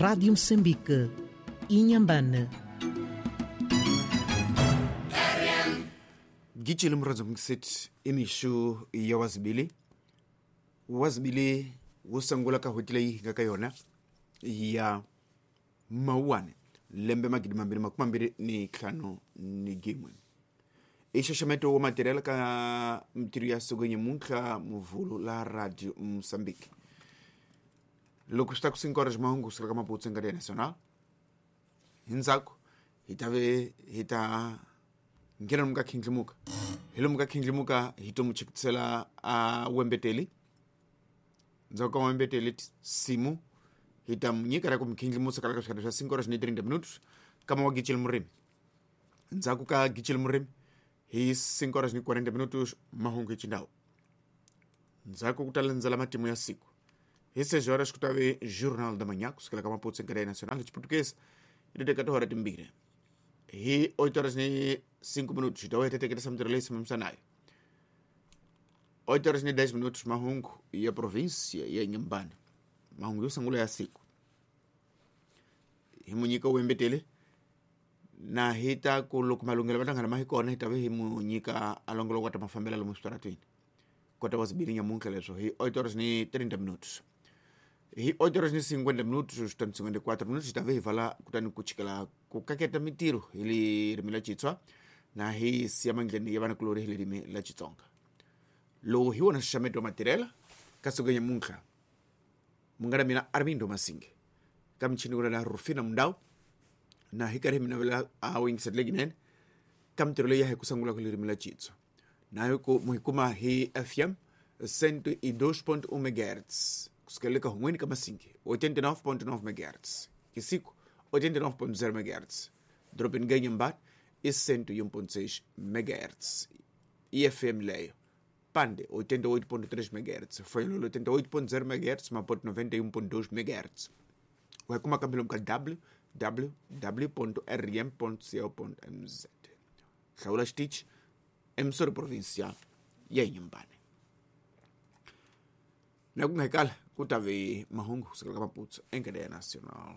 Rádio Moçambique, Inhambane. Gitshile muradzo mukiseti imixu ya wazibili wazibili wo sungula ka n'hweti leyi hi nga ka yona ya mawuwani lembe 2025 i xaxameto wa matirhelo ka mitirho ya siku nyamuntlha muvhulu la Radio Mozambique. Loko swi ta ku sinkora ximahungu kusukela ka Maputo nga national hi ndzhaku hi ta ve hi ta nghena lomu ka khindlimuka hi lomu ka khindlimuka hi to mu chekisela a wembeteli ndzhaku ka wembeteli simu hi ta mu nyika ra ku mi khindlimusa kala ka swikarhi swa 5 horas ni 30 minutos kama wa gicile murimi ndzhaku ka gicile murimi hi 5 horas ni 40 minutos mahungu hi xindhawu ndzhaku ku ta landzela matimu ya siku hi 6 horas ku ta ve Journal da Manhã kusukela ka Maputo Secretaria Nacional hi Xiputukezi hi ti teka tihora timbirhi hi 8 horas ni 5 minutos hi ta vuya hi teketisa mitirho leyi simamisanayo 8 horas ni 10 minutos mahungu ya província ya Inhambane mahungu yo sungula ya siku hi mu nyika wembetele na hi ta ku loko malunghelo va hlangana ma hi kona hi ta ve hi mu nyika a longoloko wa ta mafambela lomu switaratweni kota wa zibili nyamuntlha leswo hi 8 horas ni 30 minutos hi 8 horas ni 50 minutos switani 54 minutos hi ta ve hi vala kutani ku chikela ku kaketa mitirho hi ririmi la Xitswa na hi siya mandleni ya vanakulorhi hi ririmi la Xitsonga lowu hi wona nxaxameto wa matirhela ka siku nyamuntlha munghana mina Armindo Masinge ka michini ku la Rufina Mundau na hi karhi hi mi navela a wu yingisela lekinene ka mitirho leyi ya hi ku sungula ku ririmi la Xitswa na hi ku mu hi kuma hi FM 102.1 MHz kusukela le ka hun'weni ka Masinge 89.9 MHz Kisiku 89.0 MHz dorobeni ka Inhambane i 101.6 MHz IFM leyo Pande 88.3 MHz Foyololo 88.0 MHz Maputo 91.2 MHz wa hi kuma kambe lomu ka www.rm.co.mz hlawula xitichi emsori provincial ya Inhambane na ku nga hikala ku ta ve mahungu kusukela ka Maputo enkele ya national.